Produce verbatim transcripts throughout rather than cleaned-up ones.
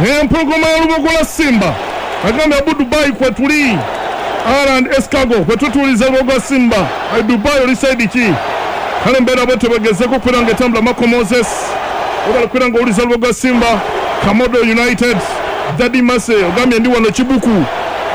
Empologoma y'Olubogola Simba agambye abu Dubai kwetuli Aland Escargo kwetutuliza Lubogola Simba. Ai Dubai oli side ki? Kale mbeera bwe tebagezeko okubeera nga etambula. Mako Moses obala kubeera nga owuliza Lubogola Simba. Kamodo United Daddy Mase ogambye ndi wano Kibuku.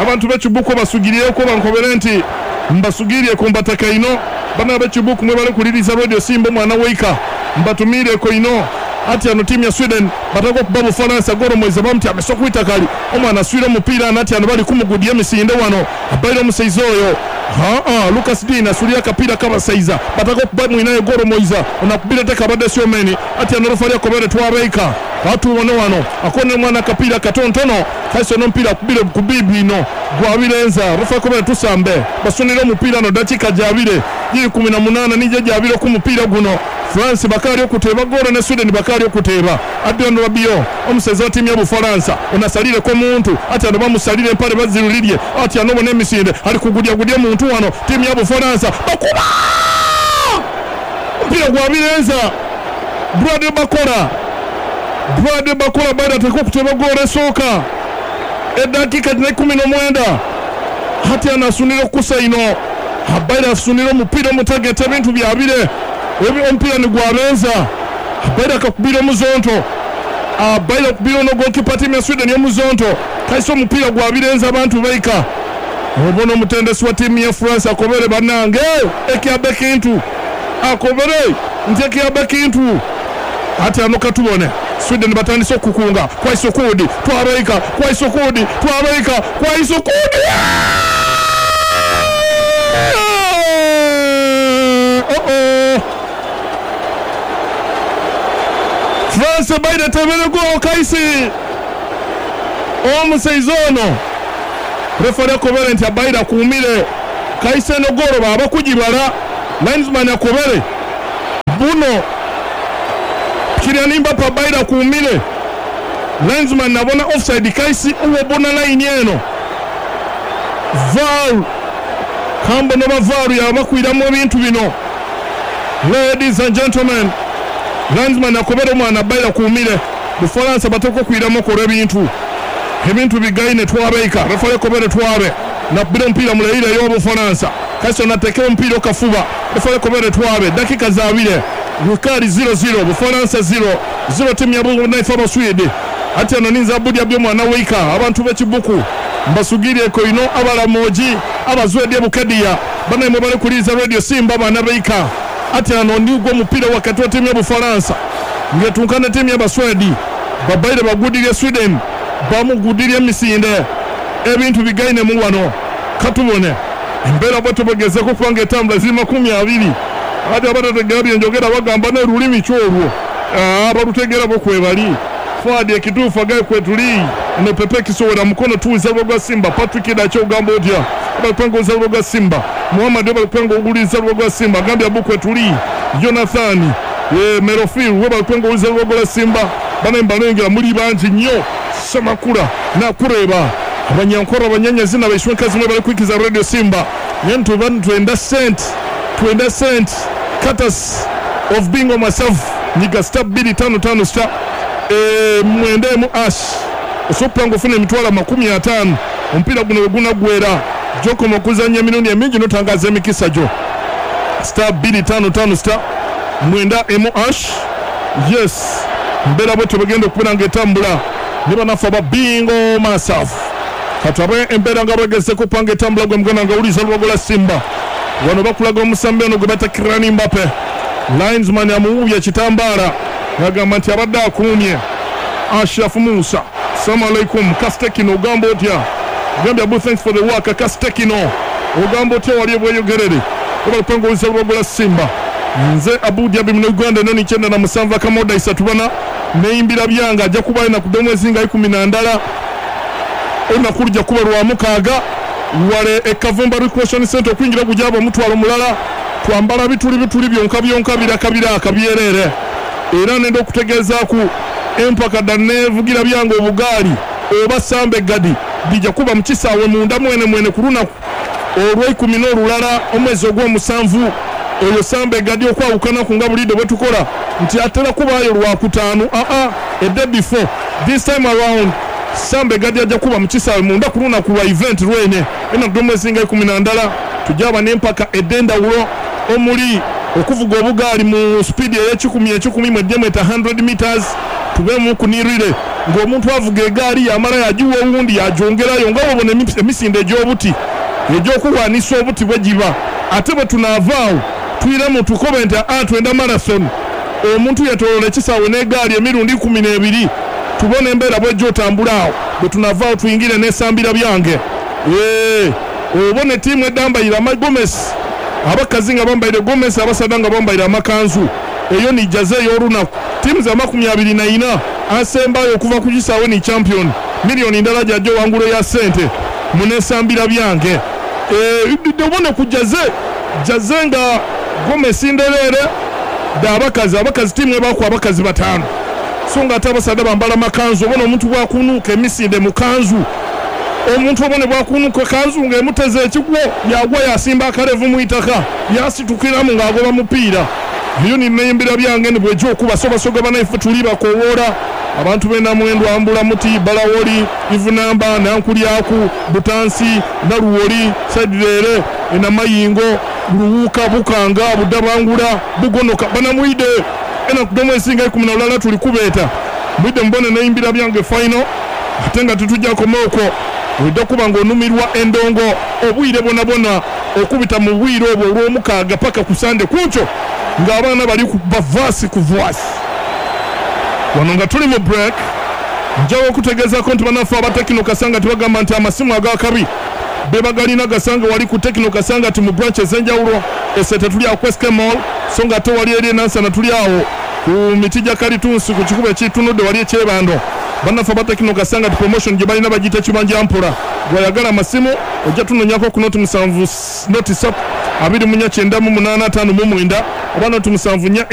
Abantu b'Ekibuku basugirieko bankobere nti mbasugirieko mbataka ino. Bana b'Ekibuku mwebale kuliriza Radio Simba omwana weika mbatumiireko ino. Ati ano timu ya Sweden batako kuba Bufaransa goro mweza bamuti ameso kwita kali omwana aswira omupiira nati ano bali kumugudya emisinde wano abaire omusaiza oyo haa Lucas Dean asulia akapiira kabasaiza batako kuba mwinayo goro moiza onakubira teka abadde siomeni ati ano rofali akobere twabeika atubone wano akone omwana akapiira katontono kaiso n'omupiira akubire kubibi ino gwabirenza rofali akobere tusambe basunira omupiira no dakika gyabire giri kumi na munana nije gyabire ku mupiira guno. France bakali okuteba goro ne Sweden bakali okuteba. Adrian Rabiot omuseza wa timu ya Bufaransa onasalire ko muntu ati ano bamusalire empale bazirulirie ati ano bone emisinde ali kugudya gudya muntu wano timu ya Bufaransa bakuba mpira gwa birenza Brad Bakora Brad Bakora baada atakwa kuteba goro esoka edakika kumi na mwenda hati anasunira kusa ino habaira asunira omupira omutagete ebintu byabire ebi omupiira ni gwabenza abaira akakubira omuzonto abaira akubira ono goalkeeper timu ya Sweden y'omuzonto kaisa omupiira gwabirenza abantu baika obona omutendesi wa timu ya France akobere bannange ekyabe kintu akobere nti ekyabe kintu ati ano katubone Sweden batandise okukunga kwaisokudi twabaika kwaisokudi twabaika kwaisokudi oh oh France baida tebere golo kaisi omusaiza ono refari akobere nti abaida akuumire kaisi eno golo baba kugibala linesman akobere buno Kylian Mbappe abaida akuumire linesman nabona offside kaisi uwo bona line eno V A R kambo noba V A R yabakwiramu ebintu bino. Ladies and gentlemen, linesman akobere omwana abaira akuumire Bufaransa batoko kwiramu kola ebintu ebintu bigaine twabeika refari akobere twabe nakubira omupiira muleire y'Obufaransa kaisi onatekewo omupiira okafuba refari akobere twabe dakika zabire Rukari zero zero Bufaransa zero zero timu ya Bunaifa Abaswede ati ano ninza abudi abyo mwana weika abantu b'Ekibuku mbasugirieko ino abalamoji abazwede Bukediya banaimwe bali kuliza Radio Simba bana beika ati ano ndigwo omupiira wakati wa timu ya Bufaransa ngetunkana timu ya Baswedi babaire bagudirye Sweden bamugudirye emisinde ebintu bigaine mu wano katubone embeera bwe tubagezeko kubanga etambula ziri makumi abiri ate abatategera byenjogera bagamba n'olulimi kyolwo abalutegera bo kwebali Fuadi ekituufu agaye kwetuli eno Pepe Kisowera mukono tuuza Lubogola Simba Patrick Dacho ogamba otya abalupanga oza Lubogola Simba Muhammad obalupanga oguliza Lubogola Simba agambye abu kwetuli Jonathan e Merofil webalupanga oguliza Lubogola Simba bana mbalengera muli bangi nnyo Semakula nakureba abanyankora abanyanyazi n'abaishwenkazi mwe bali kwikiza Radio Simba nyentu bantu twenda cent twenda cent cutters of bingo myself nyiga star bbiri tano tano star e, mwende mu ash osopanga ofuna emitwalo makumi ataano omupiira guno we gunaggwera gy'okoma okuzannya emirundi emingi n'otangaza emikisa gyo star bbiri tano tano star mwenda emu ash yes mbeera bwetyo bwegenda okubeera nga etambula ne banafe aba bingo masafu katabe embeera nga bwegezeko okupanga etambula gwe muganda nga owuliza Lubogola Simba wano bakulaga omusambi ono gwe bata Kylian Mbappe linesman amuwuubye ekitambaala ng'agamba nti abadde akuumye Ashraf Musa Assalamu alaikum Kastekino ogamba otya ogambye Abu thanks for the work Kastekino ogamba otya wali ebweyogerere obalupanga owuliza Lubogola Simba nze Abu Dhabi muno Uganda noni icyenda na musanvu akamoda isatu bana neyimbira byanga ajja kuba na kudomwe zinga ikumi na ndala olunaku lujja kuba lwa mukaaga wale ekavumba recreation center okwingira gujaba omutwalo mulala twambala bituli bituli byonka byonka biraka biraka byerere era nenda okutegeezaaku empaka danevugira byanga obugaali oba sambe gadi bijja kuba mu kisaawe munda mwene mwene ku lunaku olw'eikumi n'olulala omwezi ogw'omusanvu oyo sambe gadi okwawukana ku nga bulidde bwe tukola nti atera kubaayo lwakutaano aa a day before This time around Sambe Gadi ajja kuba mu kisaawe munda ku lunaku lwa event lwene enaku dh'omwezi nga ikumi na ndala. Tujaba n'empaka ed'endawulo omuli okuvuga obugaali mu speed ey'ekikumi ekikumi mwejje hundred meters, tubemu kunirire ng'omuntu avuga egaali yamala yagiwa owundi yagyongerayo nga bw'obona emisinde egy'obuti egy'okulwanisa obuti bwe giba. Ate bwe tunaavaawo tuyiremu tukobe nti a twenda marathon, omuntu yetoloola ekisaawe n'egaali emirundi ikumi n'ebiri, tubone embeera bwejja otambula awo. Bwe tunavaawo tuyingire n'esambira byange. Ee, obone ttiimu edambayire amagomesi, abakazi nga bambaire gomesi, abasaadha nga bambaire amakanzu. Eyo ni jaze ey'olunaku. Ttiimu za makumi abiri na ina, asembayo okuva ku kisaawe ni champion, miliyoni ndala gyajja owangulo ya ssente munesambira byange. Ee, obone ku jaze jaze nga gomesi ndereere da abakazi, abakazi ttiimu ebaku abakazi bataano, so nga ate abasaadha bambala makanzu. Obona omuntu bwakunuuka emisinde mu kanzu, omuntu obone bwakunuuka kanzu ng'emuteze ekigwo, yagwa yasimba akalevu mu itaka, yasitukiramu ng'agoba mupiira. Eyo nineyimbira byange ni bwejja okuba sobasoga banaife tuli bakowoola abantu b'enamwendo ambula muti balawoli ivunamba nankulyaku butansi naluwoli saidireere enamayingo luwuka bukanga budabangula bugonoka banamwide enaku dh'omwezi nga ikumi na lulala tuli kubeeta mwide mubone neyimbira byange final. Ate nga tetujja koma okwo, ojja kuba ng'onumirwa endongo obwire bwonabwona okubita mu bwire obwo olw'omukaaga paka ku Sande kunkyo ng'abaana bali kuba vaasi ku vaasi. Wano nga tuli mu break, njawo okutegeezaako nti bannaffe aba Tekino Kasanga tibagamba nti amasimu ag'akabi be bagalina gasanga wali ku Tekino Kasanga ti mu branch ez'enjawulo. Esete tuli awo ku S K Mall, so nga ate wali eri enansana tuli awo ku miti gya kalitunsi ku kikubo ekitunudde wali ekyebando. Bannaffe aba Tekino Kasanga ti promotion gye balina bagiyita kibanja mpola. Gwayagala amasimu ojja tunonyako ku noti musanvu noti ssatu abiri mu nnya kyenda mu munaana ataano mu mwenda oba noti musanvu nnya.